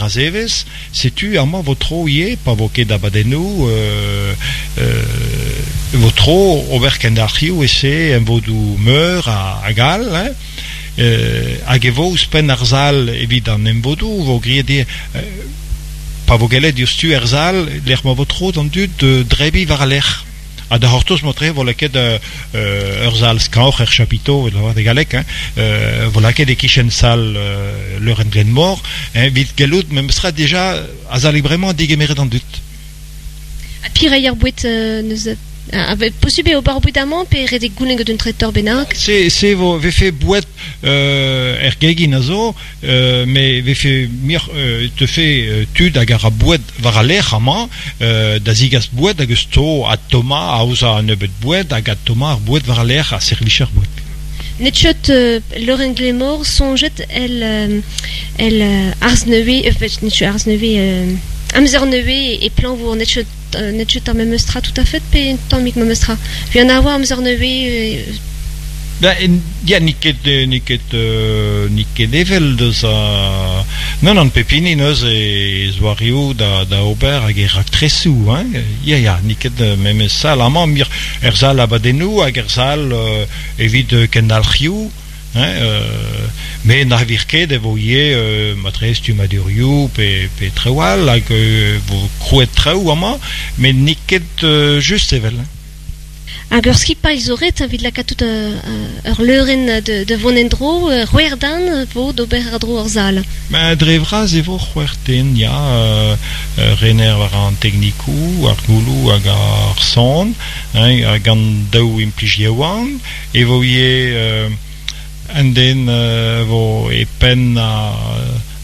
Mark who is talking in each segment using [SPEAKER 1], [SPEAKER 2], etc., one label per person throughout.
[SPEAKER 1] meur a zevezh, setu amañ 'vo tro ivez pa vo ket abadennoù e vo tro ober kendalc'hioù e-se emvodoù meur hag all hein. Hag e vo ouzhpenn ar sal evit an emvodoù 'vo graet ivez pa vo gellet diouzhtu er sal lec'h ma vo tro d'an dud drebiñ war al lec'h. Ha da c'hortoz matre 'vo lakaet ur sal skañvoc'h er chapiteau evit lavaret e galleg hein, 'vo lakaet e-kichen sal Leurenn Glenmor hein, evit gellout memestra dija azalek bremañ degemeret an dud.
[SPEAKER 2] Ha piv ar boued neuze? Posubl eo ober boued amañ pe ret eo goulenn gant un traiteur bennak?
[SPEAKER 1] Se, se vo vefe boued er gegin a zo, met vefe muioc'h teufe tud hag a ra boued war al lec'h amañ da zigas boued hag eus to adtommañ, aozañ un nebeud boued hag adtommañ ar boued war al lec'h ha servij ar boued.
[SPEAKER 2] N'eo ket Leurenn Glenmor soñjet el el arz nevez, n'eo ket arz nevez, amzer nevez e Plañvour, n'eo ket n'eo ket ar memes tra tout à fait pe un tammig memes tra. Evit an aour amzer nevez.
[SPEAKER 1] Ben, ya, n'eo ket, n'eo ket, n'eo ket evel deus a... Non, non, pep hini neuze e zoareoù da, da ober hag e raktresoù, hein. Ya, ya, n'eo ket memes sal amañ, mir er sal abadennoù hag er sal evit kendalc'hioù, hein, met na vir ket e vo ivez matre stummadurioù pe, pe traoù all hag e vo krouet traoù amañ, met n'eo ket just evel.
[SPEAKER 2] Hag ur skipailh zo ret evit lakaat tout ur leurenn da vont en-dro, c'hwec'h den vo d'ober àr-dro ur sal.
[SPEAKER 1] Ben, dre vras e vo c'hwec'h den, ya, rener war an teknikoù, ar gouloù hag ar son, hein, hag an daou implij yaouank. E vo ivez un den vo e penn ar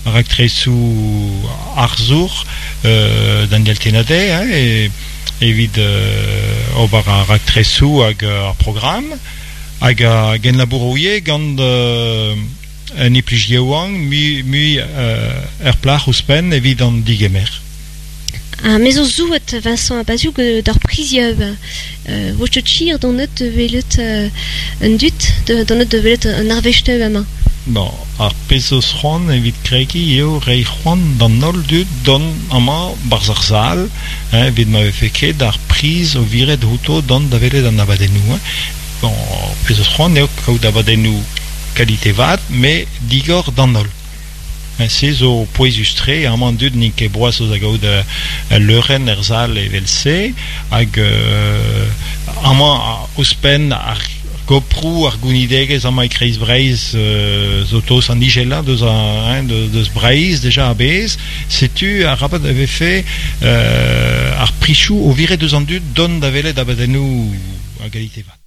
[SPEAKER 1] raktresoù arzour, Daniel Tenadey, hein, evit ober ar raktresoù hag ar programm, hag a genlabouro ivez gant un implij yaouank mui mui ur plac'h ouzhpenn evit an digemer.
[SPEAKER 2] Ha me zo zouet Vincent Abaziou d'ar prizioù. Vo ket hir donet da welet an dud, donet da welet an arvestoù amañ.
[SPEAKER 1] Bon, ar pezh zo c'hoant evit kregiñ eo reiñ c'hoant d'an holl dud dont amañ 'barzh ar sal, hein, evit ma vefe ket ar priz o viret outo dont da welet an abadennoù. Hein. Bon, ar pezh zo c'hoant eo kaout abadennoù kalite vat, met digor d'an holl. Se zo pouezus-tre, amañ an dud n'int ket boas da gaout ul leurenn er sal evel-se hag amañ ouzhpenn ar goproù, ar gounidegezh amañ e Kreiz Breizh zo tost an ijelañ deus deus Breizh deja a-bezh. Setu arabat e vefe ar prisoù o viret deus an dud dont da welet abadennoù a galite vat.